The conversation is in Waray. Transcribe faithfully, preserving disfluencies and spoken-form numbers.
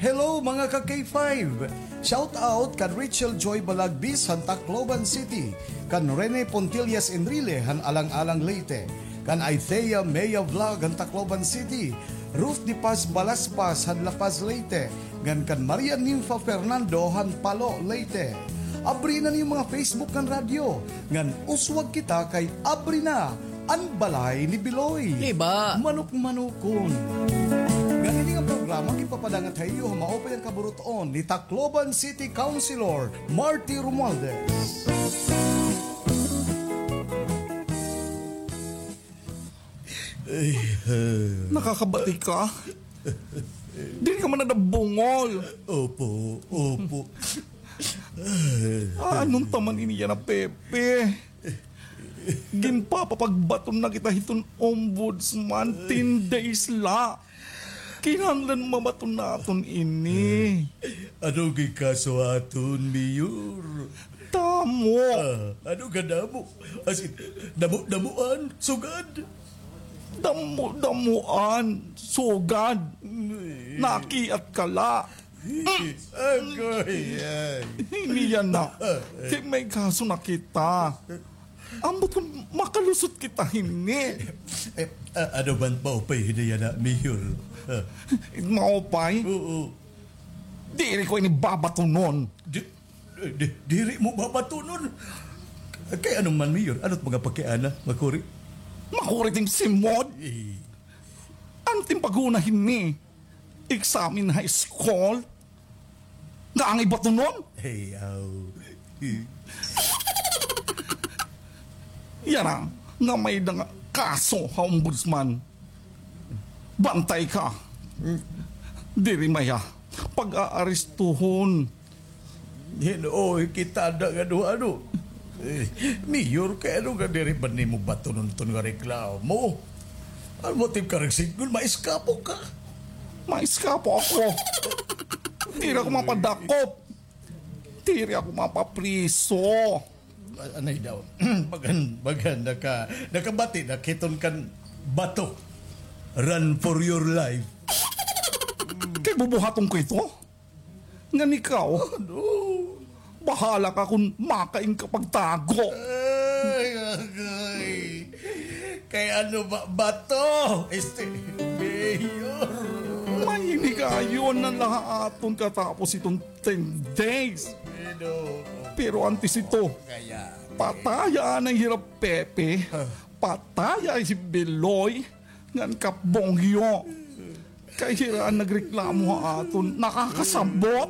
Hello, mga ka K five! Shout out kan Rachel Joy Balagbis han Tacloban City, kan Rene Pontillas Enrile han Alang-Alang, Leyte, kan Aithea Mea Vlog han Tacloban City, Ruth de Paz Balaspas han La Paz, Leyte, ngan kan Maria Ninfa Fernando han Palo, Leyte. Abri na niyo mga Facebook ngan radyo, ngan uswag kita kay abri na an balay ni Biloy. Iba. Manok-manokon. Ngan ini nga programa ginpapadangat ha iyo ha maupay nga kaburut-on ni Tacloban City Councilor Marty Romualdez. Nakakabati ka? Diri ka man nadabungol. Opo, opo. Ano ta man ini yana, Pepe? Ginpapapagbaton na kita hiton ombudsman, ten days la. Kinahanglan mabaton naton ini. Ano gikaso aton, Mayor? Damo. Ah, ano kadamo? As in, damo-damoan, sugad. Damo-damoan, sugad. Nakiat ka la. Agoy, ay. Ini yana. Kay may kaso na kita. Ambot kon makalusot kita hini. Eh, ah, ano man maupay hini yana, Mayor? Ah. Maupay? Oo. Diri ko ini babatunon. Di, di, diri mo babatunon? Kay ano man, Mayor? Ano it mga pakiana? Makuri? Makuri it im simod? Eh. Ano it im pag-una hini? Exam in high school? Nga angay batunon? Hey, aw. Yana, nga may-ada nga kaso ha ombudsman. Bantay ka. Diri maya pag-aarestuhon. Hin-o, kita da nga duha, no? Eh, Mayor, kay ano nga diri ba nimo batunon ton nga reklamo? Ano motibo ka nagsidngon, maiskapo ka? Maiskapo ako. Diri ako mapadakop. Diri ako mapapriso. A-, anay daw. Bagan, bagan, naka-, nakabati na hiton kan bato. Run for your life. Kay bubuhaton ko ito? Ngan ikaw? Ano? Bahala ka kon makain ka pagtago. Ay, agay. Kay ano ba, bato? Este, Mayor. May inigayon na la ha aton katapos iton ten days. Pero antes ito, kaya, pataya anay hira Pepe, pataya hi Beloy, ngan Kap Bongyo. Kay hira an nagreklamo ha aton, nakakasabot.